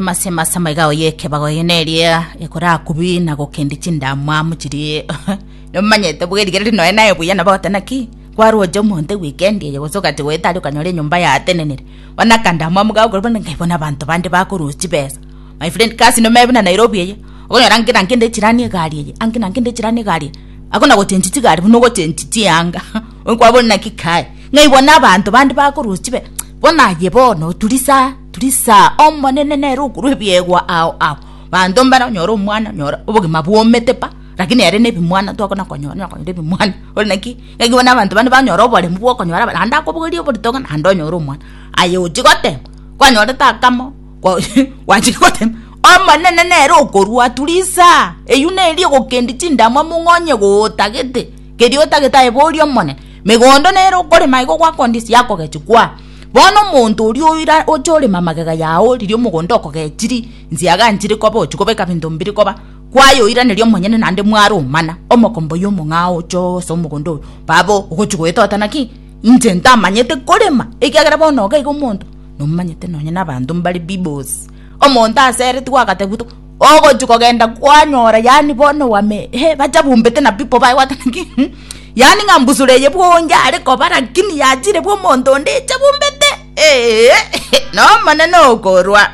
Emase emase amaiga ao y'ekebago eye neria ekorakubi na gokendi chindamwamu chirie nomanyete bwerigereria nonya naye buya nabo ogoteba naki kwaroche omonto ewikendi eye gose ogachia goeta aria okanyora enyomba yatenenire bono akandamwamu gagokora bono ngai bono abanto bande bakorusia chibesa my friend kasi nomanye buna Nairobi eye okonyora ange na kende echirani egari eye ange na kende echirani egari eye akona gochenji chigari buna ogochenji chianga okwabora naki kai ng'ai bono abanto bande bakorusia chibesa bono aye bono turisa. Turisa, Omonene nere okorua ebiegwa ao ao. Banto mbare onyore omwana onyore obogima bwomete pa, lakini ere nebimwana twakona konyora onya konyora ebimwana ore naki naki bono abanto bande banyora oboremu bwa okonyora aba naende akobogoria oborito ng'a naende onyore omwana. Aye ochia gotema, kwanyorete akamo kwa gwachire gotema, Omonene nere okorua turisa, eywo neri egokendia chindamwamu ng'a onye gotagete keria otagete aye boria Omonene. Megondo nere okorema igo gwakondisia yakogechia kwaa. Bono omonto oria oira oche oreme amagega yao riria omogondo okogechiri, nsiaga nchire koba ochia kobeka binto mbiri koba, kwayoiraneria omonyene naende mwaromana, omokombo oyio omong'ao oche ase omogondo oyo, baba ogochia goetota naki? Inche ntamanyete korema, ekiagera bono iga iga omonto nomanyete nonye na abanto mbare bibos. Omonto aseretigwe agatebiwa to ogochia kogenda kwanyora yaani bono wame eh bachabumbete na people baye gwateba naki yaani ng'a mbusuro eye bwonge are koba lakini yachire bwa omonto onde echabumbete eeh na omonene okorwa.